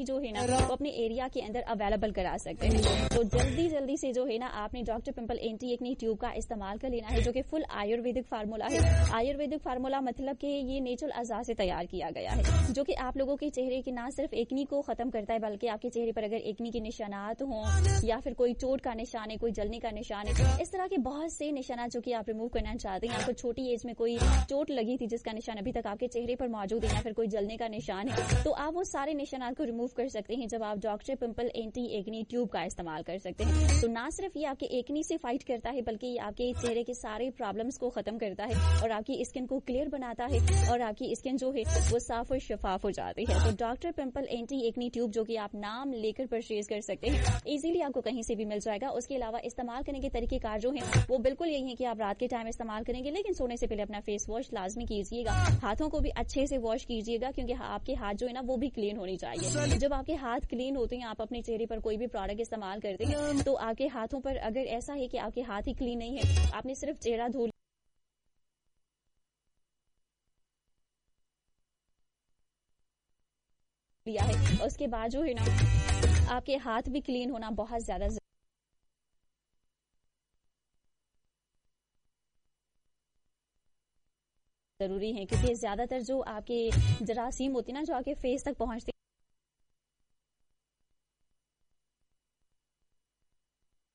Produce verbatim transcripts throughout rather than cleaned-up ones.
जो है ना वो अपने एरिया के अंदर अवेलेबल करा सकते हैं। तो जल्दी जल्दी से जो है ना आपने doctor pimple anti acne tube का इस्तेमाल कर लेना है, जो कि फुल आयुर्वेदिक फार्मूला है। आयुर्वेदिक फार्मूला मतलब कि ये नेचुरल अज़ा से तैयार किया गया है, जो कि आप लोगों के चेहरे के ना सिर्फ एकनी को खत्म करता है, बल्कि आपके चेहरे पर अगर एकनी के निशानात हों या फिर कोई चोट का निशान है, कोई जलने का निशान है, इस तरह के बहुत से निशानात जो कि आप रिमूव करना चाहते हैं, आपको छोटी एज में कोई चोट लगी थी जिसका निशान अभी तक आपके चेहरे पर मौजूद है या फिर कोई जलने का निशान है, तो आप वो सारे निशानात को रिमूव कर सकते हैं जब आप doctor pimple anti acne tube का इस्तेमाल कर सकते हैं। तो ना सिर्फ ये आपके एकनी से फाइट करता है, बल्कि ये आपके चेहरे के सारे प्रॉब्लम्स को खत्म करता है और आपकी स्किन को क्लियर बनाता है और आपकी स्किन जो है वो साफ और शफाफ हो जाती है। तो doctor pimple anti acne tube जो कि आप नाम लेकर परचेज कर सकते हैं, इजीली आपको कहीं से भी मिल जाएगा। उसके अलावा इस्तेमाल करने के तरीकेकार जो हैं वो बिल्कुल यही है कि आप रात के टाइम इस्तेमाल करेंगे, लेकिन सोने से पहले अपना फेस वॉश लाजमी कीजिएगा, हाथों को भी अच्छे से वॉश कीजिएगा, क्योंकि आपके हाथ जो है ना वो भी क्लीन होनी चाहिए। जब आपके हाथ क्लीन होते हैं, आप अपने चेहरे पर कोई भी प्रोडक्ट इस्तेमाल करते हैं तो आपके हाथों पर अगर ऐसा है कि आपके हाथ ही क्लीन नहीं है, आपने सिर्फ चेहरा धो लिया है, उसके बाद जो है ना आपके हाथ भी क्लीन होना बहुत ज्यादा जरूरी है, क्योंकि ज्यादातर जो आपके जरासीम होती है ना जो आपके फेस तक पहुंचते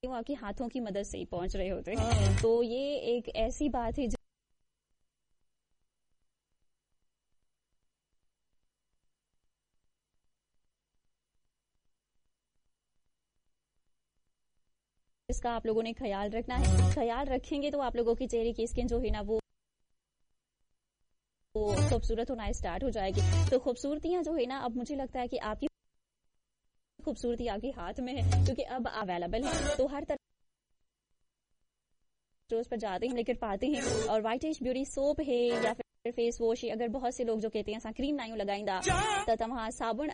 वो आपके हाथों की मदद से ही पहुंच रहे होते हैं। तो ये एक ऐसी बात है जिसका आप लोगों ने ख्याल रखना है। ख्याल रखेंगे तो आप लोगों के चेहरे की स्किन जो है ना वो खूबसूरत होना स्टार्ट हो जाएगी। तो खूबसूरतियां जो है ना अब मुझे लगता है कि आपकी खूबसूरती आपके हाथ में है, क्योंकि अब अवेलेबल है। तो हर तरह स्टोर्स पर जाते हैं, लेकर पाते हैं। और वाइट एश ब्यूटी सोप है या फिर फेस वॉश है, अगर बहुत से लोग जो कहते हैं असां क्रीम नाहियूं लॻाईंदा त तव्हां साबुण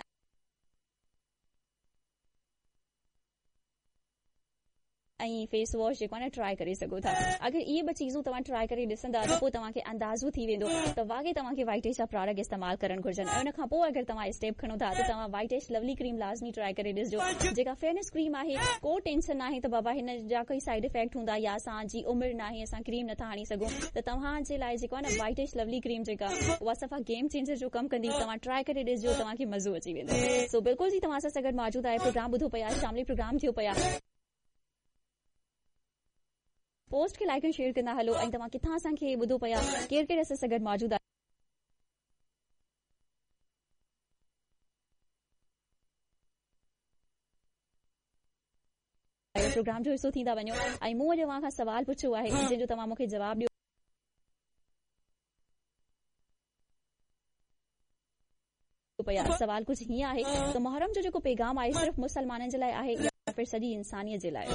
ऐं फेस वॉश जेको आहे न ट्राई करे सघो था। अगरि इहे ॿ चीज़ूं तव्हां ट्राई करे ॾिसंदा त पोइ तव्हांखे अंदाज़ो थी वेंदो त वाक़ई तव्हांखे वाइट एश जा प्रोडक्ट इस्तेमालु करणु घुर्जनि। ऐं उन खां पोइ अगरि तव्हां स्टेप खणो था त तव्हां वाइट एश लवली क्रीम लाज़मी ट्राई करे ॾिसजो, जेका फेयरनेस क्रीम आहे। को टेंशन नाहे त बाबा हिन जा कोई साइड इफ़ेक्ट हूंदा या असांजी उमिरि नाहे, असां क्रीम नथा हणी सघूं, त तव्हांजे लाइ जेको आहे न वाइट एश लवली क्रीम जेका उहा सफ़ा गेम चेंजर जो कमु कंदी। तव्हां ट्राई करे ॾिसजो, तव्हांखे मज़ो अची वेंदो। सो बिल्कुलु जी तव्हां सां गॾु मौजूदु आहे, प्रोग्राम ॿुधो पिया, शामिली प्रोग्राम थियो पिया। पोस्ट खे लाइक ऐं शेयर कंदा हलो ऐं तव्हां किथां असांखे ॿुधो पिया, केरु केरु असां सां गॾु मौजूदु आहे। प्रोग्राम जो हिसो थींदा वञो ऐं मूं अॼु तव्हां खां सवाल पुछियो आहे जंहिंजो तव्हां मूंखे जवाबु ॾियो पिया। सवाल कुझु हीअं आहे त मुहर्रम जो जेको पैगाम आहे सिर्फ़ मुसलमाननि जे लाइ आहे या फिर सॼी इंसानियत जे लाइ?